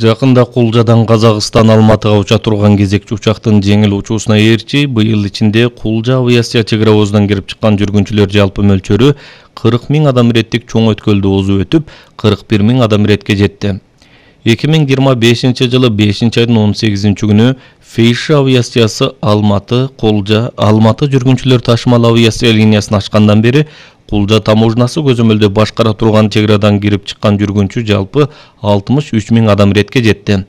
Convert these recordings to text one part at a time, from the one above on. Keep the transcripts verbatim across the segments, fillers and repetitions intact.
Жакында Кулжадан Казакстан Алматыга уча турган кезекчи учактын жеңил учуусуна ээрчи быйыл ичинде Кулжа авиация чек ара обозунан кирип чыккан жүргүнчүлөр жалпы мөлчөрү кырк миң адам иреттик чоң өткөлдү озуп өтүп, кырк бир миң адам иретке жетти. эки миң жыйырма бешинчи жылы бешинчи айдын он сегизинчи күнү Фейши авиациясы Алматы, Кулжа, Алматы жүргүнчүлөр ташымал авиация линиясын ачкандан бери Кулжа таможнасы көзөмөлдө башкара турган чек арадан кирип чыккан жүргүнчү жалпы алтымыш үч миң адам иретке жетти.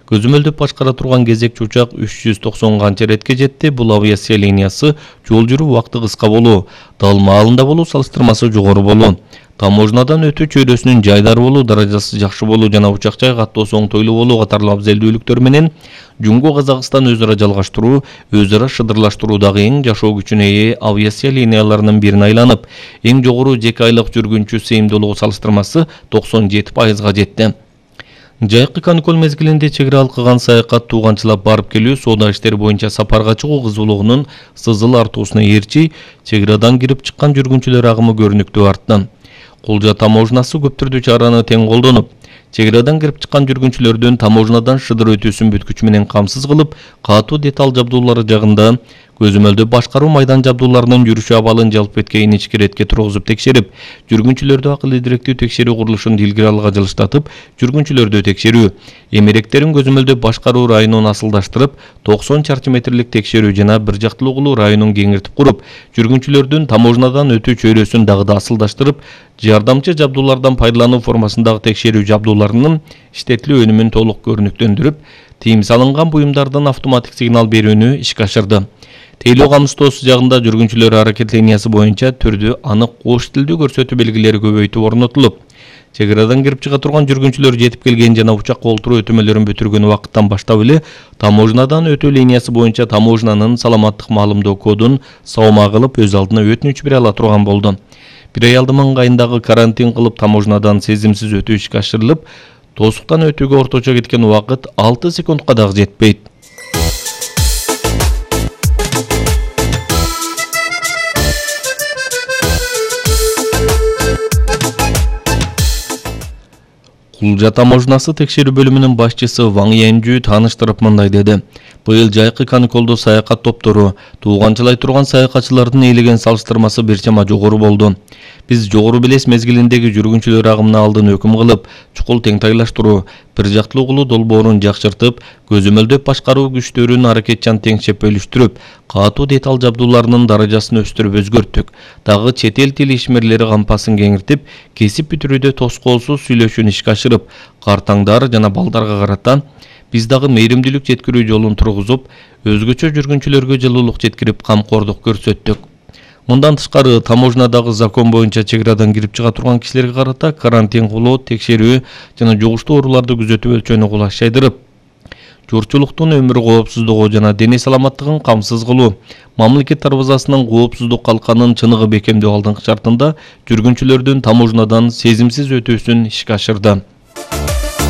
Көзөмөлдө башкара турган кезекчи учак үч жүз токсон канча иретке жетти. Бул авиация линиясы жол жүрүү убакыты кыска болуу, дал маалында болуу салыштырмасы жогору болуу, таможнадан өтүү чөйрөсүнүн жайдары болуу даражасы жакшы болуу жана учак жай каттоосу оңтойлуу болуу катарлуу абзелдүүлүктөр менен Жумго Казакстан өз ара жалгаштыруу, өз ара шыдырлаштыруудагы эң жашоо күчүнө ээ авиация линияларынын бирине айланып, эң жогору жеке айлык жүргүнчү сыйымдуулугу салыштырмасы токсон жети пайызга жетти. Жайкы каникул мезгилинде чек ара алкыган саякат, тууганчылап барып келүү, соода иштери боюнча сапарга чыгуу кызуулугунун сызыл артуусуна ээрчи чек арадан кирип чыккан жүргүнчүлөр агымы көрүнүктүү артты. Кулжа таможнасы көп түрдүү чараны тең колдонуп, чек арадан кирип чыккан жүргүнчүлөрдүн таможнадан шыдыр өтүүсүн бүткүч менен камсыз кылып, катуу деталь жабдуулары жагында көзөмөлдө башкаруу майдан жабдууларынын жүрүшү абалын жалп эткейин ички иретке тургузуп текшерип, жүргүнчүлөрдү акылы директүү текшерүү курулушун илгери алга жылыштатып, жүргүнчүлөрдү текшерүү, эмеректерин көзөмөлдө башкаруу районун асылдаштырып, токсон чарчы метрлик текшерүү жана бир жактылуулуу районун кеңиртип куруп, жүргүнчүлөрдүн таможнадан өтүү чөйрөсүн дагы да асылдаштырып, жардамчы жабдуулардан пайдалануу формасындагы текшерүү жабдууларынын иштетилүү өнүмүн толук көрүнүктөндүрүп, тыйым салынган буюмдардын автоматик сигнал берүүнү ишке ашырды. Тейлөө камсыздоосу жагында жүргүнчүлөр аракет линиясы боюнча түрдүү анык кош тилдүү көрсөтүү белгилери көбөйтүп орнотулуп, чек арадан кирип чыга турган жүргүнчүлөр жетип келген жана учакка олтуруу өтөмөлөрүн бүтүргөн убакыттан баштап эле таможнадан өтүү линиясы боюнча таможнанын саламаттык маалымдоо кодун саама кылып өз алдына өтүнүч бере ала турган болду. Бир аялдын маңгайындагы карантин кылып таможнадан сезимсиз өтүү ишке ашырылып, тосуктан өтүүгө орточо кеткен убакыт алты секундка дагы жетпейт. Кулжа таможнасы текшерүү бөлүмүнүн башчысы Ваң Янжу тааныштырып мындай деди. Быйыл жайкы каникулдо саякат топтору, тууганчылай турган саякатчылардын ээлеген салыштырмасы бир чама жогору болду. Биз жогору белес мезгилиндеги жүргүнчүлөр агымына алдын өкүм кылып, чукул теңтайлаштыруу, бир жактылуулуу долбоорун жакшыртып, көзөмөлдөп башкаруу күчтөрүн аракетчан теңшеп бөлүштүрүп, катуу деталь жабдууларынын даражасын өстүрүп өзгөрттүк. Дагы чет эл тил ишмерлери кампасын кеңиртип, кесип бүтүрүүдө тоскоолсуз сүйлөшүүнү ишке ашырып, картаңдар жана балдарга карата биз дагы мейримдүүлүк жеткирүү жолун тургузуп, өзгөчө жүргүнчүлөргө жылуулук жеткирип, камкордук көрсөттүк. Мындан тышкары таможнадагы закон боюнча чек арадан кирип чыга турган кишилерге карата карантин кылуу, текшерүү жана жугуштуу ооруларды күзөтүү өлчөөнү кулашайдырып, журчулуктун өмүр коопсуздугу жана дене саламаттыгын камсыз кылуу, мамлекет дарбазасынын коопсуздук калканын чыныгы бекемдөө алдыңкы шартында жүргүнчүлөрдүн таможнадан сезимсиз өтүүсүн ишке ашырды.